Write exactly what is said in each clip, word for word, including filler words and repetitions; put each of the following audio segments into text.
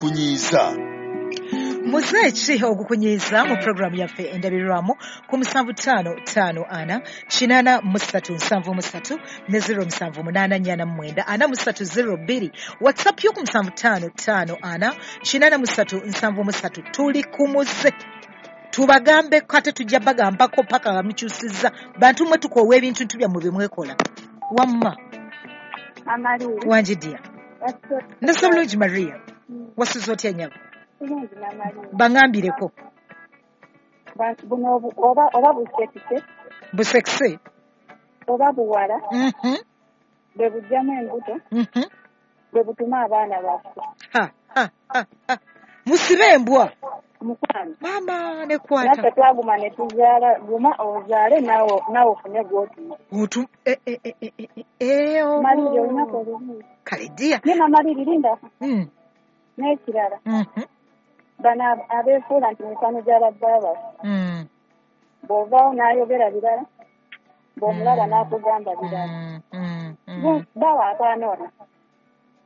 Kunyiiza. Muze ki ogukunyiiza mu puroguramu yaffe Endabirwamu ku musanvu ttaano ttaano ana kinaana mu ssatu nsanvu mu ssatu ne zero musanvu munaana nnyana mu mwenda ana mu ssatu zero bbiri. WhatsApp yo ku musanvu ttaano ttaano ana kinaana mu ssatu nsanvu mu ssatu. Tuli ku muze, tubagambeko ate tujja bagambako paka nga mukyusizza. Bantu mmwe tukoowa ebintu ntu byammwe bye mwekola. Wamma wangi dya ndasa bulungi. Maria, wasuze otya nnyabo? Baŋambireko. Buno oba oba busekise. Busekise. Oba buwala bwe bujjamu embuto, bwe butuma abaana baffe. Musibe embwa. Mukwano. Maama nekwata. Naffe twaguma ne tuzaala, guma ozaale naawe naawe ofune gw'otuma. Otu e e e e e oh. Maliri olunaku olumu. Kale ddiya. Naye Maliri linda. Mm. N'ekirala. Mhm. Bano abeefuula nti mikwano gy'ababba baffe. Mm. Bw'ovaawo n'ayogera birala, bw'omulaba n'akugamba birala. Mm. Mm. Bawa abaana ono.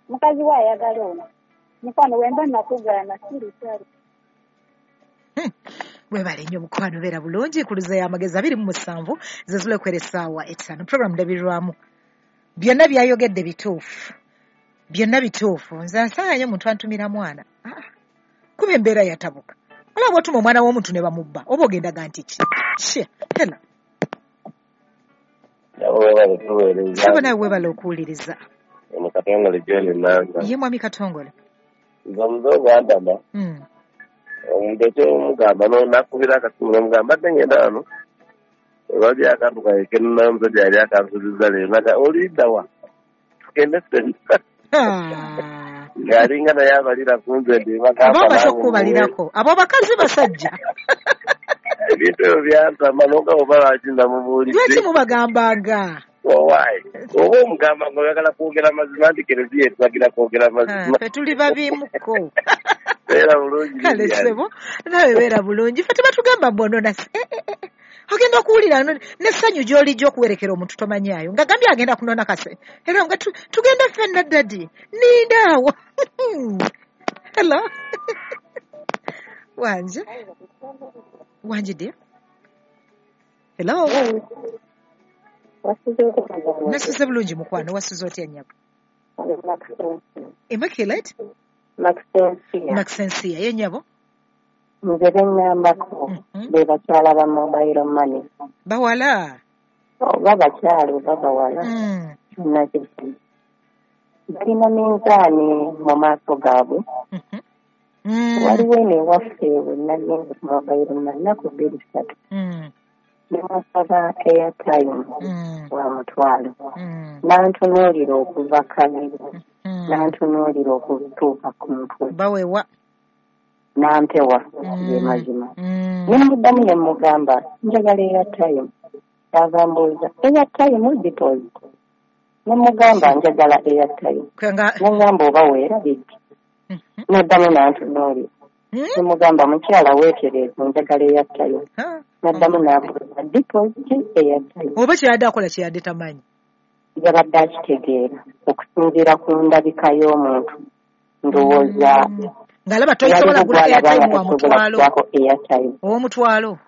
Mukazi we ayagala ono. Mukwano wemba nakugaana siri kyali. Webale nnyo mukwano, beera bulungi. Kuluza y'amagezi abiri mu musanvu zezulekwera essaawa etaano. Puroguramu Ndabirwamu. Byonna byayogedde bituufu, byonna bituufu. Nze nsanga nnyo omuntu antumira mwana, kuba embeera yatabuka. Olaba otuma omwana w'omuntu ne bamubba, oba ogendaga nti ki? Kye hela sebo, nawe weebale okuwuliriza. Ono Katongole John Nanga. Ye mwami Katongole. Nze omuze ogwantama, omuntu ekyomugamba nakubira akasimu nomugamba mbadde ngenda wano olwali akantu kange kenina omusajja yali akansuubiza leero naga oliddawa tugende ffenna, ng'alinga naye abalira ku nze ndi aba amaze okukubalirako abo bakazi basajja. Ebintu ebyo byantama nonga oba lwaki namubuulidde. Lwaki mubagambanga? Owaayi oba omugamba nga oyagala kwogera mazima nti kereziya etubagira kwogera mazima. Ffe tuli babimuko. Beera bulungi. Kale ssebo, nawe beera bulungi. Ffe tebatugamba mbwonona ogenda okuwulira n'essanyu gy'olijja okuwerekera omuntu tomanyaayo ng'agambye agenda kunona kase era nga tugenda ffenna ddadi ninda awo. Hello. Wanje wanje dear. Hello. Nasuze bulungi mukwano, wasuze otya nnyabo? Immaculate Maxensia ye nnyabo. Nze beŋŋambako be bakyala ba mobile money. Bawala oba bakyala oba bawala kyonna kiri balina minzaani mu maaso gaabwe. Waliwo eno ewaffe we nagenze ku mobile money nnaku bbiri ssatu, ne musaba airtime wa mutwalo, n'antunuulira okuva kabiri, n'antunuulira okutuuka ku mutwe. Bawewa nampewa ge mazima. Ne muddamu ne mugamba njagala airtime, yava mbuuza airtime deposit, ne mugamba njagala airtime, ne ngamba oba weerabidde, naddamu n'antunuulira ne mugamba mukyala weetereeze njagala airtime, naddamu n'ambuuza deposit airtime. Oba kyeyadde akola kyeyadde tamanyi, yabadde akitegeera okusinziira ku ndabika y'omuntu ndowooza ng'alaba tosobola kugula airtime wa mutwalo ow'omutwalo.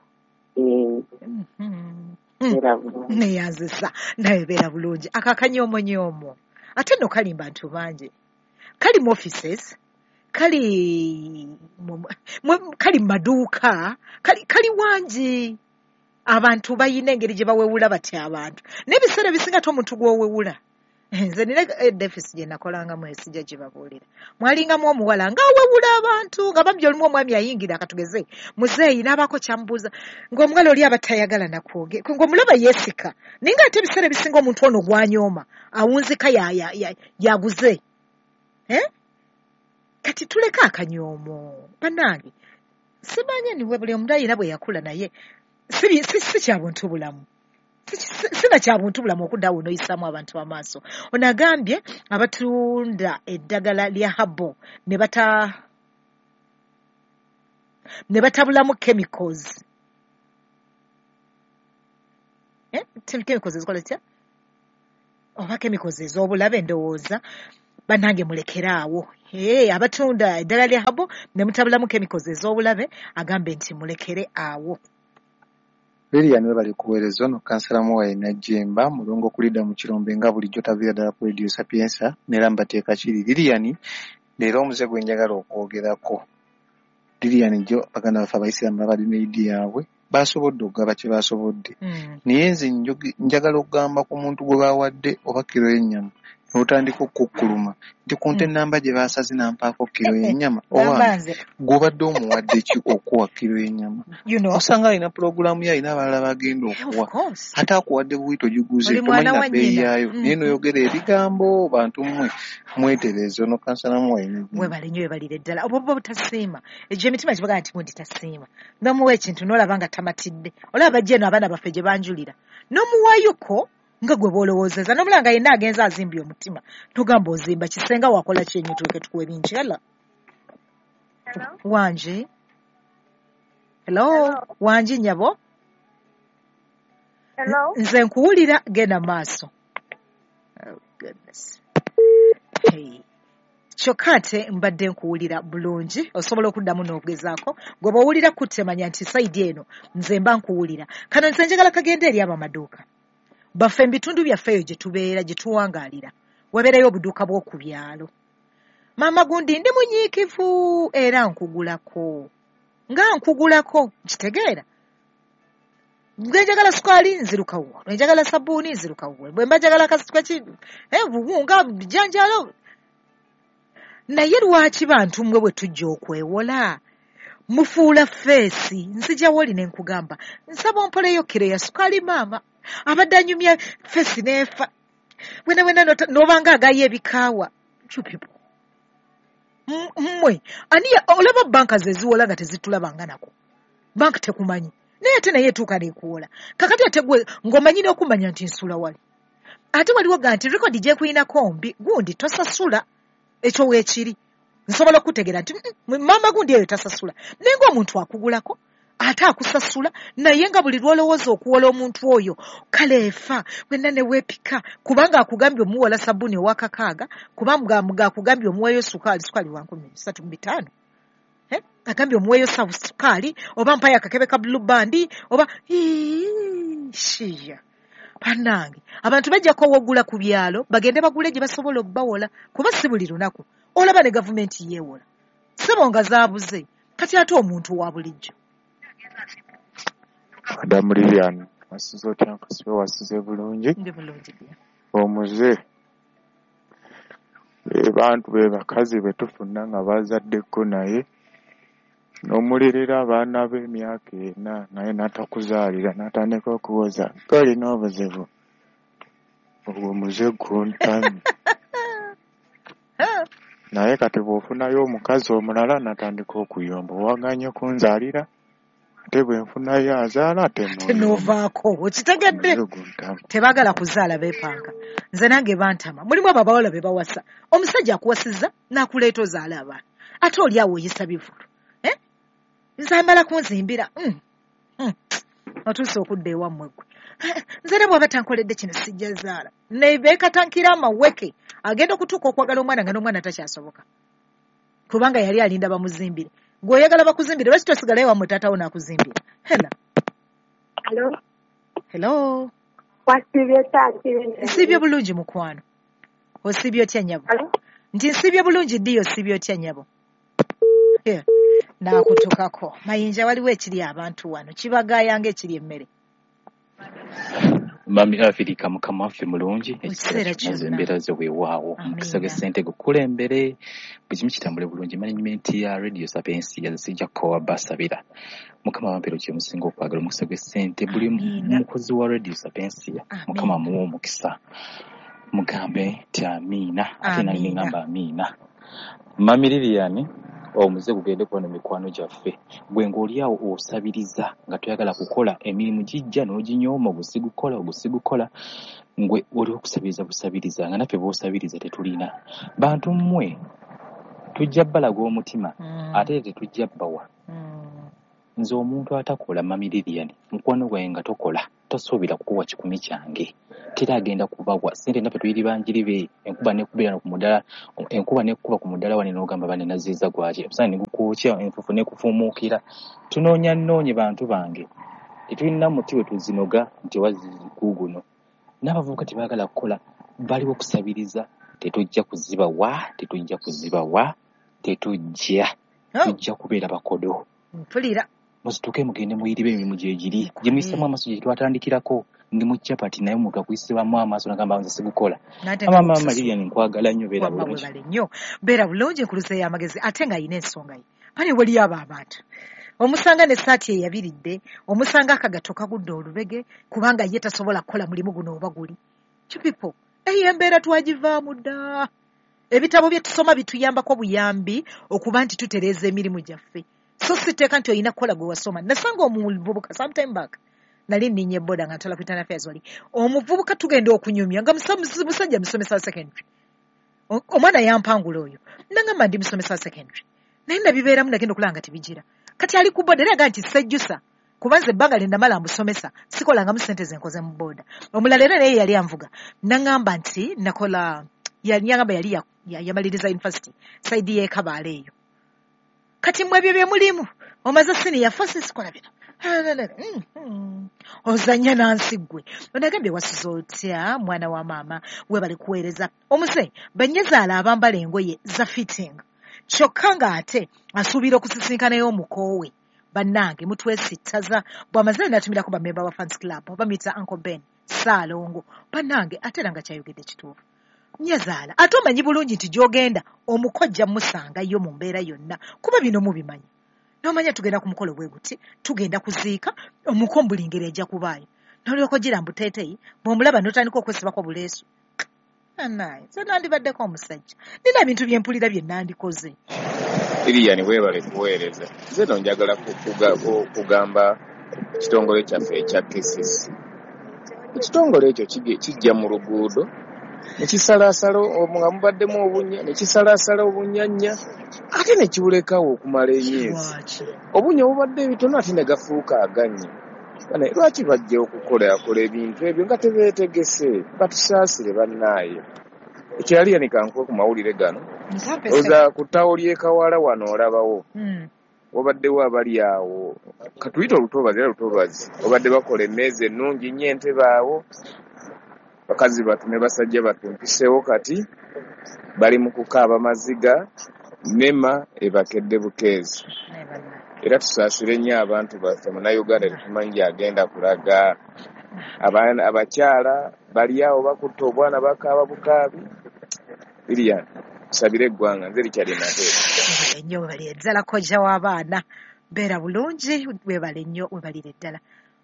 Neyanzisa naye beera bulungi. Ako akanyomonyoomo ate nno kali mu bantu bangi, kali mu offices, kali kali mu maduuka, kali kali wangi. Abantu bayina engeri gye bawewula batya abantu, n'ebiseera ebisinga ate omuntu gw'owewula. Nze nina edefisi gye nakolangamu esijja gye babuulira, mwalingamu omuwala ng'awewula abantu nga bambi olumu omwami ayingira akatugeze muzeeyi n'abaako kyamubuuza ng'omuwala oli aba tayagala nakwoge ng'omulaba yeesika, naye ng'ate ebiseera ebisinga omuntu ono gwanyooma awunzika yaguze. Kati tuleke akanyoomo bannange, simanya niwe buli omuntu ayina bwe yakula, naye si kya buntu bulamu, sina kya buntu bulamu okudda awo n'oyisaamu abantu amaaso. Ono agambye abatunda eddagala lya habo ne bata ne batabulamu chemicals. Eh, chemicals ezikola zitya? Oba chemicals ez'obulabe ndowooza. Bannange mulekeraawo. Hey, abatunda eddala lya habo ne mutabulamu chemicals ez'obulabe, agambe nti mulekere awo. Lilian webale kuweereza. Ono kansala Muwaye Najjemba mulongo okulidda mu kirombe nga bulijjo taviira ddala ku Radio Sapienza n'era mbateeka kiri. Lilian, leero omuze gwe njagala okwogerako. Lilian, jjo baganda baffe Abayisiraamu babadde ne Eid yaabwe, basobodde okugaba kye basobodde. Mm. Naye nze njoge- njagala okugamba ku muntu gwe bawadde oba kiro y'ennyama n'otandika okukkuluma nti ku nte Mm. nnamba gye baasaze nampaako kiro y'ennyama. Gamba Owange, nze gw'obadde omuwadde ki okuwa kiro y'ennyama? You know, Osanga alina pulogulaamu ye, alina abalala bagenda of okuwa, course. ate akuwadde buwi togiguze, Oli tomanyi mwana na wa bbeeyi nnyina. yaayo, naye Mhm. n'oyogera ebigambo. Bantu mmwe mwetereeze. Ono kansala Muwaye Najjemba. Webale nnyo, webalire ddala. Obwo buba butasiima. Egyo emitima gibagaa nti gundi tasiima. N'omuwa ekintu n'olaba nga tamatidde. Olaba bajja eno abaana baffe gye banjulira. N'omuwaayoko nga gwe bw'olowoozezza. N'omulaba nga yenna agenze azimbye omutima. Togamba ozimba kisenga wakola ki ennyo tuleke tukuwe bingi. Hello. Wangi. Hello. Wangi nnyabo. Hello. Nze nkuwulira, genda maaso. Oh goodness. Hey. Kyokka ate mbadde nkuwulira bulungi, osobola okuddamu n'ogezaako. Gwe bw'owulira kutemanya nti sayidi eno nze mba nkuwulira. Kano nze njagala kagende eri abamaduuka baffe mu bitundu byaffe eyo gye tubeera, gye tuwangaalira, wabeerayo obuduuka bw'oku byalo. Maama gundi ndi munyiikivu era nkugulako nga nkugulako, nkitegeera. Bwe njagala sukaali nziruka wuwo, bwe njagala sabbuuni nziruka wuwo, bwe mba njagala kasituka ki eh, buwunga bijanjaalo. Naye lwaki bantu mmwe bwe tujja okwewola mufuula feesi? Nzija woli ne nkugamba nsaba ompoleyo kiro ya sukaali, maama abadde anyumya feesi n'efa wena wena n'ota- n'obanga agayo ebikaawa. You people. M- mmwe ani ya- olaba banka ze ziwola nga tezitulabanga nako, banka tekumanyi, naye ate naye etuuka n'ekuwola. Kakati ate gwe ng'omanyi n'okumanya nti nsula wali, ate waliwo ga nti rekodi gyekuyinako mbi, gundi tosasula, ekyo weekiri nsobola okutegeera nti "Mm, maama gundi eyo tasasula." Naye ng'omuntu akugulako ate akusasula, naye nga buli lw'olowooza okuwola omuntu oyo kale efa wenna ne weepika, kubanga akugambye omuwola sabbuuni ow'akakaaga, kubanga nga akugambye omuweeyo sukaali, sukaali wa nkumi ssatu mu bitaano. Eh? Agambye omuweeyo sa sukaali oba mpayo akakebe ka Blue Band oba Ii, shiya. Bannange, abantu bajja kowogula ku byalo bagende bagule gye basobola obbawola, kuba si buli lunaku olaba ne gavumenti yeewola ssebo nga zaabuze. Kati ate omuntu wa bulijjo. Madamu Lilian, wasize otya? Nkasibe wasize bulungi. Ndi bulungi dya. Omuze be bantu be bakazi be tufuna nga bazaddeko, naye n'omulerera abaana be emyaka ena, naye n'atakuzaalira, n'atandika okuwoza golina obuzibu. Ogwo muze guntamye. Naye kati bw'ofunayo omukazi omulala n'atandika okuyomba, owaganye okunzaalira, ate bwe nfunayo azaala ate ate n'oyomba. N'ovaako okitegedde. Omuze guntama. Tebaagala kuzaala, beepanka. Nze nange bantama. Mulimu abo abawala be bawasa, omusajja akuwasizza n'akuleeta ozaala abaana, ate oli awo oyisa bivulu. Eh? Nze amala kunzimbira. Mm. Mm. Otuuse okudda ewammwe ggwe. Eh, nze era bw'aba tankoledde kino sijja zaala. Ne beekatankira amaweke, agenda okutuuka okwagala omwana nga n'omwana takyasoboka, kubanga yali alinda bamuzimbire. Gwe oyagala bakuzimbire, lwaki tosigalayo wammwe taatawo n'akuzimbira? Hela. Hello. Hello. Wasiibye otya? Nsiibye bulungi mukwano. Osiibye otya nnyabo? Hello. Nti nsiibye bulungi ddiyo, osiibye otya nnyabo? Here, naakutukako. Mayinja, waliwo ekiri abantu wano kibagaaya ng'ekiri emmere. Mami Afirika, Mukama waffe mulungi Mu ekiseera kiseera kyonna, ze kyonna. embeera ze weewaawo omukisa Amiina. gw'essente gukulembere, buli kimu kitambule bulungi. Management ya Radio Sapiensia sijja kukowa basabira. Mukama wampeero kye musinga okwagala, omukisa gw'essente buli Amiina. mukozi wa Radio Sapiensia, Mukama Amiina. amuwe omukisa, mugambe nti amiina, ate nange Amiina. ngamba amiina. Mami Lilian, omuze gugende kubano mikwano gyaffe, gwe ng'oli awo osabiriza nga toyagala kukola emirimu, gijja n'oginyooma, ogusigukola ogusigukola, ngwe oli okusabiriza busabiriza, nga naffe b'osabiriza tetulina. Bantu mmwe tujja bbalaga omutima, Mm. ate tetujja bbawa. Mm. Nze omuntu atakola, Mami Lilian, mukwano gwange nga tokola, tosuubira kukuwa kikumi kyange. Teri agenda kubawa ssente, naffe tuyiri banjiribe. Enkuba nekubeera ku mudaala, enkuba nekuba ku mudaala wane n'ogamba bane naziiza gwaki, omusana ne gukwokya, enfuufu nekufuumuukira. Tunoonya nnoonye bantu bange, tetulina muti we tuzinoga nti waziguuguno. N'abavubuka tebaagala kukola, baliwo kusabiriza. Tetujja kuzibawa, tetujja kuzibawa, tetujja tujja kubeera bakodo. Mpulira. Musituke mugende muyiribe emirimu gyegiri gye muyisemu amaaso gye twatandikirako. Ndi mu chapati naye omuntu akuyisibwamu amaaso nagamba nze sigukola. Mama mama Lilian nkwagala nnyo, beera bulungi. Webale nnyo, beera bulungi. Enkuluze y'amagezi ate ng'ayina ensonga ye. Bane waliyo abo abantu omusanga n'essaati eyabiridde, omusanga akagato kagudde olubege kubanga ye tasobola kukola mulimu guno oba guli. You people, eyo embeera twagivaamu dda. Ebitabo bye tusoma bituyambako buyambi okuba nti tutereeza emirimu gyaffe. So siteeka nti olina kukola gwe wasoma. Nasanga omuvubuka sometime back, nali nninnya eboda nga ntwala ku Internal Affairs wali. Omuvubuka tugenda okunyumya nga musajja musomesa wa secondary. Omwana yampangula oyo. Nangamba ndi musomesa wa secondary. Naye nabibeeramu nagenda okulaba nga tebigira. Kati ali ku boda era agamba nti sejjusa kuba nze ebbanga lye namala musomesa sikolangamu ssente ze nkoze mu boda. Omulala era naye yali anvuga. Nangamba nti nakola, yangamba yali yamaliriza university side y'e Kabaale eyo. Kati mmwe ebyo bye mulimu omaze siniya four sikola bino. Ozannya nansi ggwe. Onagambye wasuze otya mwana wa maama, webale kuweereza. Omuze bannyazaala abambala engoye za fitting kyokka ng'ate asuubira okusisinkanayo omukoowe. Bannange mutwesittaza. Bw'amaze n'atumirako bammemba ba fans club bamuyita Uncle Ben Ssaalongo. Bannange ate era nga kyayogedde kituufu. Nnyazaala ate omanyi bulungi nti gy'ogenda omukojja musangayo mu mbeera yonna kuba bino mubimanyi. N'omanya tugenda ku mukolo bwe guti, tugenda kuziika, omuko buli ngeri ejja kubaayo. N'olyoka ogira mbuteeteeyi, bw'omulaba n'otandika okwesibako buleesu. Annaye, nze nandibaddeko omusajja. Nina ebintu bye mpulira bye nandikoze. Lilian weebale kuweereza. Nze nno njagala kugamba ekitongole kyaffe ekya K C C. Ekitongole ekyo kijja mu luguudo ne kisalaasala nga mubaddemu obunnya, ne kisalaasala obunnyannya ate ne kibulekawo okumala emyezi. Obunnya obubadde ebitono ate ne gafuuka agannya. Lwaki bajja okukolakola ebintu ebyo nga tebeetegese? Batusaasire bannaaye. Ekirala Lilian kankuwe ku mawulire gano. Oza ku ttawo ly'e Kawala wano olabawo. Wabaddewo abali awo katuyite olutobazi era lutobazi, babadde bakola emmeeza ennungi nnyo entebe awo. Bakazi batu ne basajja batu mpiseewo kati bali mu kukaaba maziga, nema ebakedde bukeezi. Era tusaasire nnyo abantu baffe, Munnayuganda tetumanyi gy'agenda kulaga. Abakyala bali awo bakutte obwana bakaaba bukaabi. Lilian, tusabire eggwanga. Nze Richard Nateete. Nnyo webale ddala kojja w'abaana, beera bulungi, webale nnyo, webalire ddala.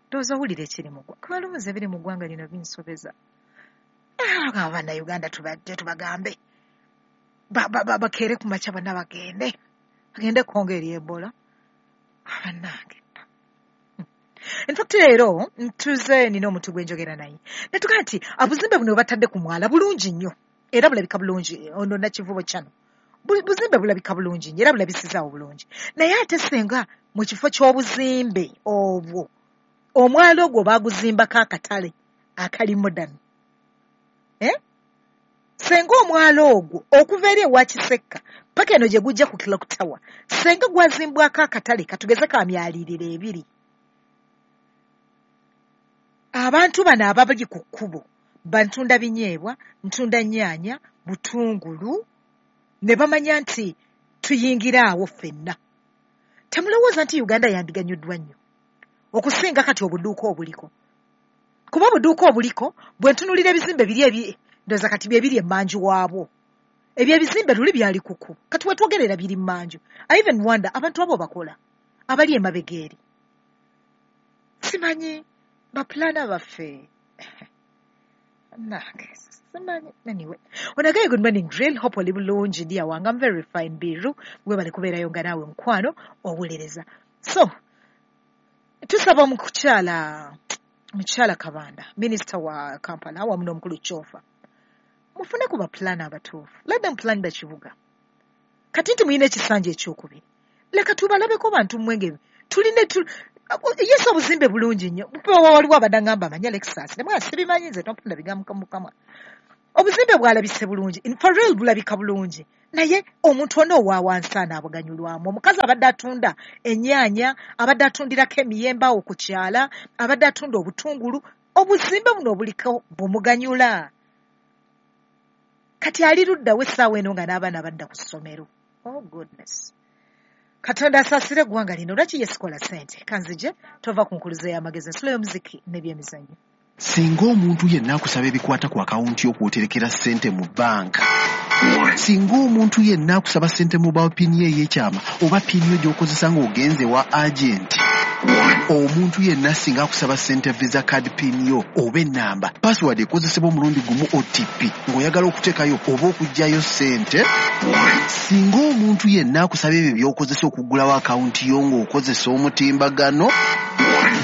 Ndowooza owulira ekiri mu ggwanga, kuba lumu nze ebiri mu ggwanga lino binsobeza. Abannayuganda tubadde tubagambe bakeere ku makya bonna bagende bagende Congo eri Ebola. Abannange. In fact leero ntuze nina omuntu gwe njogera naye ne tugamba nti obuzimbe buno batadde ku mwala bulungi nnyo era bulabika bulungi. Ono Nakivubo kyano buzimbe bulabika bulungi nnyo era bulabisizaawo bulungi, naye ate senga mu kifo ky'obuzimbe obwo omwala ogwo baaguzimbako akatale akali modern. Eh? Senga omwala ogwo okuva eri ewa Kisekka paka eno gye gujja ku Clock Tower, senga gwazimbwako akatale katugeze ka myaliiriro ebiri. Abantu bano ababali ku kkubo bantunda binyeebwa, ntunda nnyaanya, butungulu, ne bamanya nti tuyingira awo ffenna. Temulowooza nti Uganda yandiganyuddwa nnyo okusinga kati obuduuka obuliko. Kuba obuduuka obuliko bwe ntunuulira ebizimbe biri ebi ndowooza kati bye biri emmanju waabwo. Ebyo ebizimbe luli byali kuku kati we twogerera biri mmanju. I even wonder abantu abo bakola abali emabega eri. Simanyi bapulana baffe. Nange simanyi. Anyway, onagaye good morning drill, hope oli bulungi dear wange. I'm very fine biru, webale kubeerayo nga naawe mukwano owulereza. So tusaba omukyala mukyala Kabanda, minisita wa Kampala awamu n'omukulu Kyofa, mufune ku bapulana abatuufu. Let them plan the kibuga. Kati nti mulina ekisanja ekyokubiri, leka tubalabeko bantu mmwenge. Tulina Yesu obuzimbe bulungi nnyo. Waliwo abadde ngamba amanya Lexus ne mwana sibimanyi nze tompunda bigambo mukamwa. Obuzimbe bwalabise bulungi, for real bulabika bulungi, naye omuntu ono owa wansi anaabuganyulwamu. Omukazi abadde atunda ennyaanya, abadde atundirako emiyembe awo ku kyala, abadde atunda obutungulu, obuzimbe buno obuliko bumuganyula. Kati ali luddawo essaawa eno nga n'abaana badda ku ssomero. Oh goodness. Katonda asaasire eggwanga lino. Lwaki ye sikola ssente? Kanzije tova ku nkuluze y'amagezi, ensulo y'omuziki n'ebyemizannyo. Singa omuntu yenna akusaba ebikwata ku akawunti y'okwoterekera ssente mu bbanka, singa omuntu yenna akusaba ssente mu pini ye ey'ekyama oba pini yo gy'okozesa ng'ogenze wa agenti, omuntu yenna singa akusaba ssente visa card pin yo oba ennamba, password ekozesebwa omulundi gumu O T P ng'oyagala okuteekayo oba okuggyayo ssente, singa omuntu yenna akusaba ebyo by'okozesa okuggulawo akawunti yo ng'okozesa omutimbagano,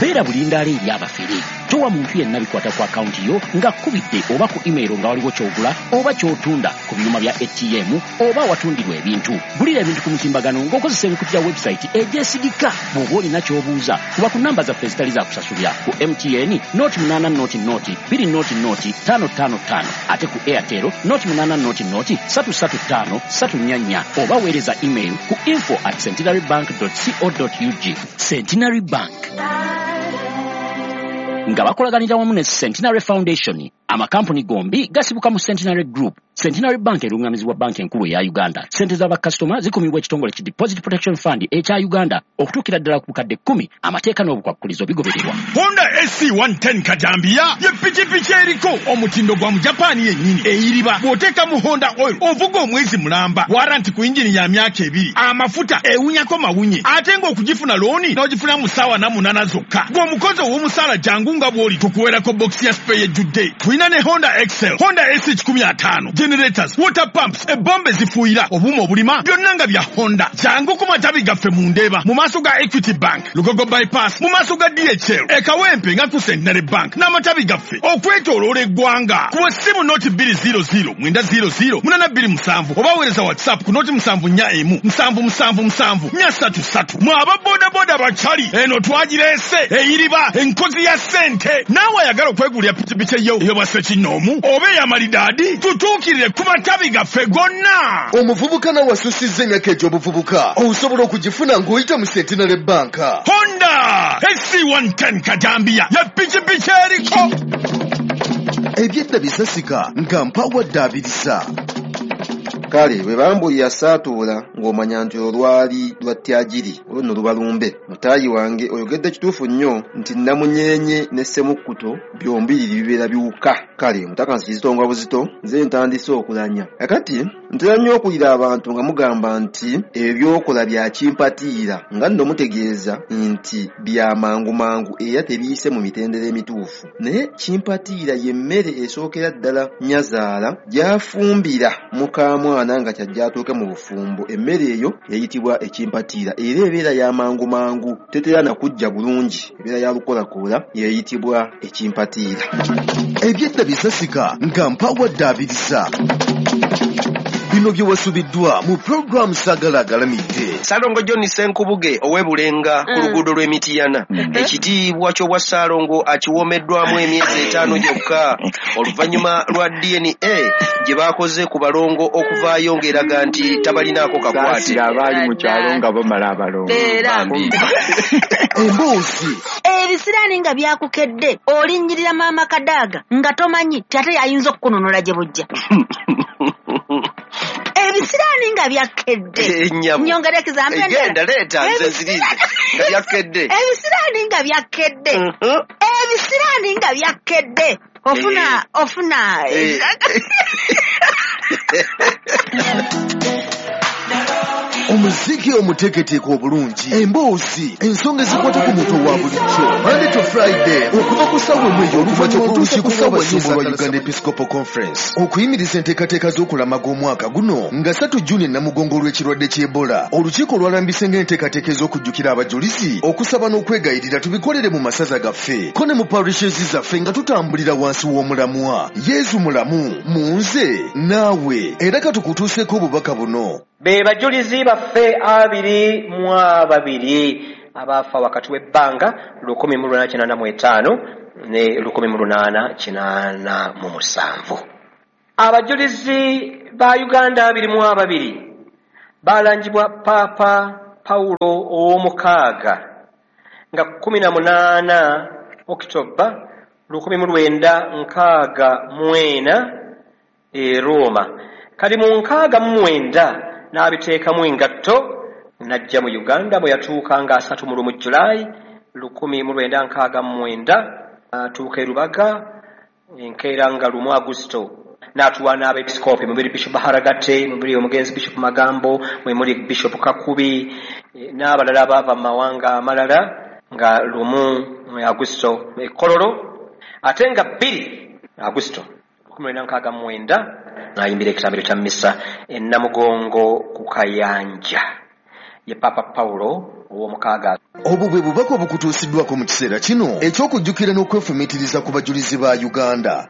beera bulindaala eri abafere. Towa muntu yenna bikwata ku akawunti yo ng'akubidde oba ku email nga waliwo ky'ogula oba ky'otunda ku byuma bya A T M oba awatundirwa ebintu. Gulira ebintu ku mutimbagano ng'okozesa emikutu gya website egyesigika. Bw'oba olina ky'obuuza, kuba ku namba zaffe ezitali za kusasulira ku M T N noti munaana noti noti bbiri noti noti ttaano ttaano ttaano, ate ku Airtel noti munaana noti noti ssatu ssatu ttaano ssatu nnya nnya, oba weereza email ku info at centenary bank dot co dot ug. Centenary Bank nga bakolaganira wamu ne Centenary Foundation. Amakampuni gombi gasibuka mu Centenary Group. Centenary Bank erungamizibwa banki enkulu eya Uganda. Ssente z'abakasitoma zikumibwa ekitongole ki Deposit Protection Fund ekya Uganda okutuukira ddala ku bukadde kkumi. Amateeka n'obukwakkulizo bigobererwa. Honda A C one ten Kajambiya ye pikipiki eriko omutindo gwa mu Japan yennyini eyiriba. Bw'oteeka mu Honda oil ovuga omwezi mulamba, waranti ku yingini ya myaka ebiri, amafuta ewunyako mawunye, ate ng'okugifuna looni n'ogifuna mu ssaawa na munaana zokka. Gw'omukozi ow'omusaala jangu nga bw'oli tukuweerako bokisi ya spare ejjudde. Tulina ne Honda Excel, Honda A C kikumi ataano, generators, water pumps, ebombe zifuuyira, obuuma obulima byonna nga bya Honda. Jangu ku matabi gaffe mu Ndeeba, mu maaso ga Equity Bank, Lugogo Bypass, mu maaso ga D H L, e Kawempe nga ku Centenary Bank n'amatabi gaffe okwetooloola eggwanga. Kuba essimu noti bbiri zero zero mwenda zero zero munaana bbiri musanvu oba weereza WhatsApp ku noti musanvu nnya emu musanvu musanvu musanvu nnya ssatu ssatu. Mwe aba bodaboda bakyali eno twagireese eyiriba enkozi ya ssente. Naawe ayagala okwegulira pikipiki yo ey'obwa ssekinnoomu oba ey'amalidaadi, tutuukirire ku matabi gaffe gonna. Omuvubuka nawe asusizza emyaka egy'obuvubuka osobola okugifuna ng'oyita mu Centenary Bank. Honda A C one ten Kajambiya ye pikipiki eriko. Ebyedda bisasika nga mpawadde abirisa. Kale bwe bambuulira saatuula ng'omanya nti olwali lwa tyagiri olwo nno luba lumbe. Mutaayi wange oyogedde kituufu nnyo nti nnamunyeenye ne ssemukkuto byombiriri bibeera biwuka. Kale omutaka nsi nga buzito nze ntandise okulanya. Kakati ntera nnyo okuwulira abantu nga mugamba nti ebyo by'okola bya kimpatiira, nga nno mutegeeza nti bya mangu mangu era tebiyise mu mitendera emituufu. Naye kimpatiira y'emmere esookera ddala nnyazaala gy'afumbira mukaamwana nga kyajja atuuke mu bufumbo. Emmere eyo eyitibwa ekimpatiira era ebeera ya mangu mangu, tetera na kujja bulungi, ebeera ya lukolakoola, eyitibwa ekimpatiira. Ebyedda bisasika nga mpawadde abirisa. Bino bye wasubiddwa mu program Sagala Agalamidde. Ssalongo John Ssenkubuge ow'e Bulenga ku luguudo lw'e Mityana. Ekitiibwa ky'obwa Ssalongo akiwoomeddwamu emyezi etaano gyokka oluvannyuma lwa D N A gye baakoze ku balongo okuvaayo ng'eraga nti tabalinaako kakwate. Saasira abaali mu kyalo nga bamala abalongo. Emboozi ebisiraani nga byakukedde, olinnyirira maama Kadaaga nga tomanyi ti ate yayinza okukununula gye bujja. Ebisiraani nga byakkedde. Nyongera example endala. Genda leeta nze nzirize. Nga byakkedde. Ebisiraani nga byakkedde. Ebisiraani nga byakkedde. Ofuna ofuna. Omuziki omuteeketeeke obulungi, emboozi, ensonga ezikwata ku muntu owa bulijjo. Monday to Friday okuva ku ssaawa emu ey'oluvannyuma okutuusa ku ssaawa nnya lwa Uganda Episcopal Conference okuyimiriza enteekateeka z'okulamaga omwaka guno nga ssatu Juni e Namugongo olw'ekirwadde ky'Ebola. Olukiiko lwalambise ng'enteekateeka ez'okujjukira abajulizi, okusaba n'okwegayirira tubikolere mu masaza gaffe ko ne mu parishes zaffe nga tutambulira wansi w'omulamwa Yezu mulamu mu nze naawe. Era katukutuuseeko obubaka buno. Be bajulizi baffe abiri mu ababiri abaafa wakati w'ebbanga lukumi mu lunaana kinaana mu etaano ne lukumi mu lunaana kinaana mu musanvu. Abajulizi ba Uganda abiri mu ababiri balangibwa Paapa Pawulo ow'omukaaga nga kkumi na munaana Okitoba lukumi mu lwenda nkaaga mu ena e Roma. Kali mu nkaaga mu mwenda n'abiteekamu engatto n'ajja mu Uganda bwe yatuuka nga asatu mu lumu Julayi lukumi mu lwenda nkaaga mu mwenda atuuka e Rubaga enkeera nga lumu Agusto n'atuwa n'abeepisikoopi mubiri Bishop Haragate, mubiri omugenzi Bishop Magambo, mwe muli Bishop Kakubi n'abalala abaava mu mawanga amalala nga lumu Agusto e Kololo, ate nga bbiri Agusto lukumi lwenda nkaaga mu mwenda n'ayimbira ekitambiro kya mmisa e Namugongo ku Kayanja. Ye Papa Pawulo ow'omukaaga. Obwo bwe bubaka obukutuusiddwako mu kiseera kino eky'okujjukira n'okwefumiitiriza ku bajulizi ba Uganda.